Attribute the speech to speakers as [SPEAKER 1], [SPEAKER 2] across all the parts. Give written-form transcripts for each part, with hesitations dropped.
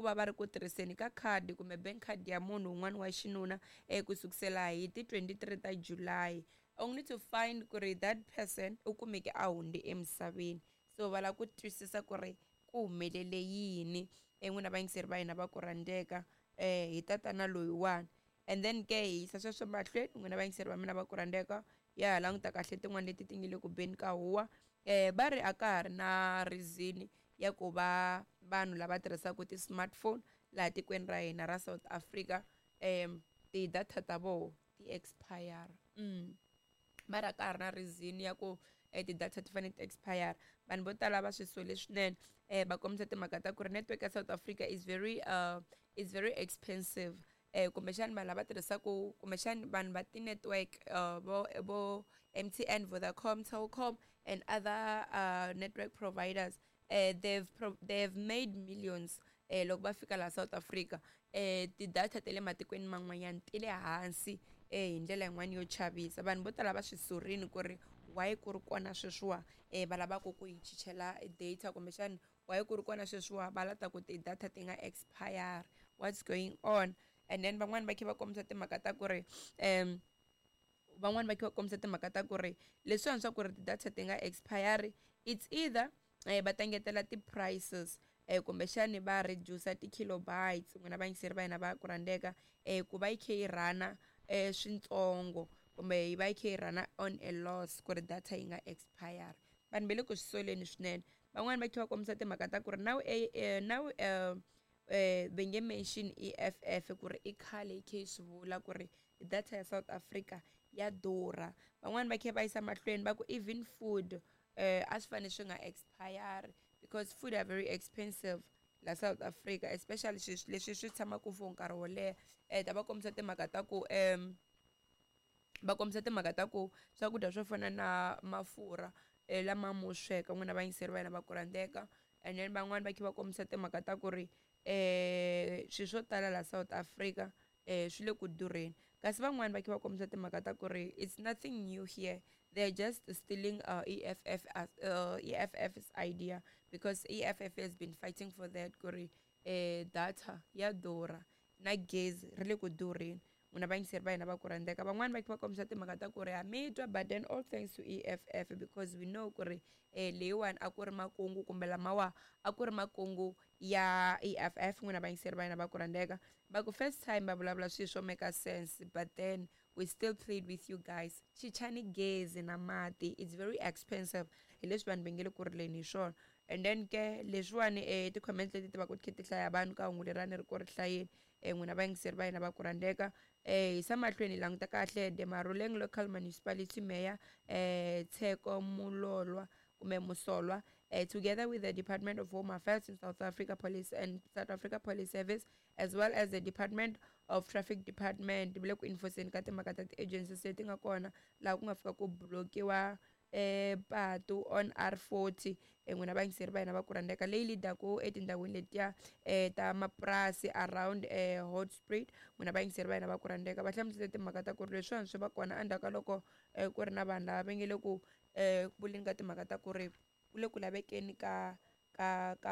[SPEAKER 1] ku va va ri ku tirhiseni ka khadi kumbe bank card ya munhu un'wana wa xinuna ku sukusela hi ti 23 ta July, only to find ku ri that person u kumeke a hundze emisaveni. So va lava ku twisisa ku ri ku humelele yini, n'wina vayingiseri va hina va ku rhandzeka, hi tatana loyiwani. And then ke hi yisa sweswo mahlweni, n'wina vayingiseri va mina va ku rhandzeka, ya ha languta kahle tin'wana leti ti nge le ku beni ka huwa. Va ri a ka ha ri na reason ya ku va vanhu lava tirhisaka ti-smartphone laha tikweni ra hina ra South Africa ti-data ta voho ti expire. Va ri a ka ha ri na reason ya ku ti-data ti fanele ti expire. Vanhu vo tala va swi sole swinene, va kombisa timhaka ta ku ri network ya South Africa is very expensive. Kumbexani vanhu lava tirhisaku, kumbexani vanhu va ti-network vo MTN, Vodacom, Telkom and other network providers, they've made millions loko va fika laha South Africa. Ti-data ta le matikweni man'wanyana ti le hansi hi ndlela yin'wani yo chavisa. Vanhu vo tala va swi sorini ku ri why ku ri kona sweswiwa va lavaka ku hi chichela data, kumbexani why ku ri kona sweswiwa va lava ku ti-data ti nga expire, what's going on? And then van'wani va kha va kombisa timhaka ta ku ri van'wani va kha va kombisa timhaka ta ku ri leswiwani swa ku ri ti-data ti nga expire, it's either va ta ngetela ti-prices, kumbexani va reduce ti-kilobytes, n'wina vayingiseri va hina va ku rhandzeka, ku va yi kha yi rhana swintsongo, kumbe yi va yi kha yi rhana on a loss ku ri data yi nga expire. Vanhu va le ku swi soleni swinene. Van'wani va kha va kombisa timhaka ta ku ri now va nge mention EFF ku ri i khale yi kha yi swi vula ku ri data ya South Africa ya durha. Van'wani va kha va yisa mahlweni va ku even food a swi fanele swi nga expire because food are very expensive la South Africa, especially swilo leswi swi tshamaka for nkarhi wo leha. Ta va kombisa timhaka ta ku va kombisa timhaka ta ku swakudya swo fana na mafurha lama mo sweka, n'wina vayingiseri va hina va ku rhandzeka. And then van'wani va kha va kombisa timhaka ta ku ri swilo swo tala la South Africa swi le ku durheni. Kasi van'wani va kha va kombisa timhaka ta ku ri it's nothing new here, they're just stealing EFF as, EFF's idea, because EFF has been fighting for that ku ri data ya durha na gezi ri le ku durheni, n'wina vayingiseri va hina va ku rhandzeka. Van'wani va kha va kombisa timhaka ta ku ri ha mi twa, but then all thanks to EFF, because we know ku ri leyiwani a ku ri makungu, kumbe lamawa a ku ri makungu ya EFF. N'wina vayingiseri va hina va ku rhandzeka, va ku first time va vulavula swilo swo make sense, but then we still played with you guys. Chichani gezi na mati, it's very expensive, hi leswi vanhu va nge le ku rileni hi swona. And then ke leswiwani ti-comments leti ti va ku ti kha ti hlaya vanhu ka hungu lerani ri ku ri hlayeni, n'wina vayingiseri va hina va ku rhandzeka. Yisa mahlweni hi languta kahle the Maruleng Local Municipality Mayor Tsheko Mulolwa kumbe Musolwa, together with the Department of Home Affairs in South Africa Police and South Africa Police Service, as well as the Department of Traffic Department, va le ku enforceni ka timhaka ta ti-agencies leti nga kona laha ku nga fika ku blokiwa patu on R40, n'wina vayingiseri va hina va ku rhandzeka, leyi leadaku etindhawini letiya ta mapurasi around Hoedspruit. N'wina vayingiseri va hina va ku rhandzeka, va hlamusele timhaka ta ku ri leswiwani swi va kona endzhaku ka loko ku ri na vanhu lava va nge le ku vuleni ka timhaka ta ku ri ku le ku lavekeni ka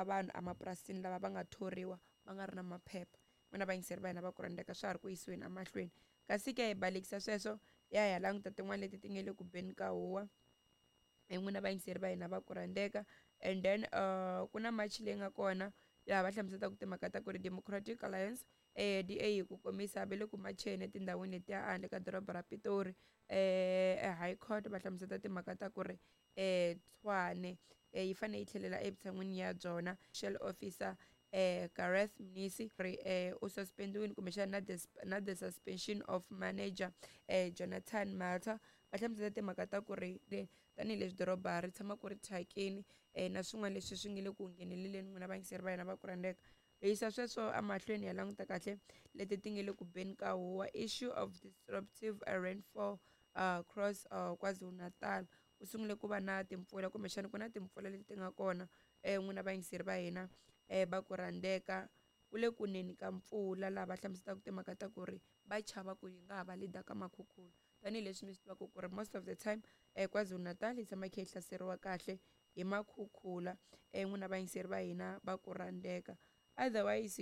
[SPEAKER 1] vanhu emapurasini lava va nga thoriwa va nga ri na maphepha. N'wina vayingiseri va hina va ku rhandzeka, swa ha ri ku yisiweni emahlweni. Kasi ke hi balekisa sweswo, ya hi ya languta tin'wana leti ti nge le ku beni ka huwa, n'wina vayingiseri va hina va ku rhandzeka. And then ku na march leyi nga kona laha va hlamuselaka timhaka ta ku ri Democratic Alliance, DA hi ku komisa, va le ku macheni etindhawini letiya handle ka doroba ra Pitori, High Court. Va hlamusela timhaka ta ku ri Tshwane yi fanele yi tlhelela evutshan'wini ya byona. Shell officer Gareth Mnisi ri u suspendiwile, kumbexana na the suspension of manager Jonathan Malter. Va hlamusela timhaka ta ku ri tanihileswi doroba ri tshama ku ri thyakini, na swin'wana leswi swi nge le ku ngheneleleni. N'wina vayingiseri va hina va ku rhandzeka, hi yisa sweswo emahlweni, ya languta kahle leti ti nge le ku beni ka huwa. Issue of disruptive rainfall across KwaZulu-Natal. Ku sungule ku va na timpfula, kumbexana ku na timpfula leti ti nga kona, n'wina vayingiseri va hina va ku rhandzeka. Ku le kuneni ka mpfula laha va hlamuselaka timhaka ta ku ri va chava ku yi nga ha va lead ka makhukhula, tanihileswi mi swi tivaka ku ri most of the time KwaZulu-Natal yi tshama yi kha yi hlaseriwa kahle hi makhukhula, n'wina vayingiseri va hina va ku rhandzeka. Otherwise.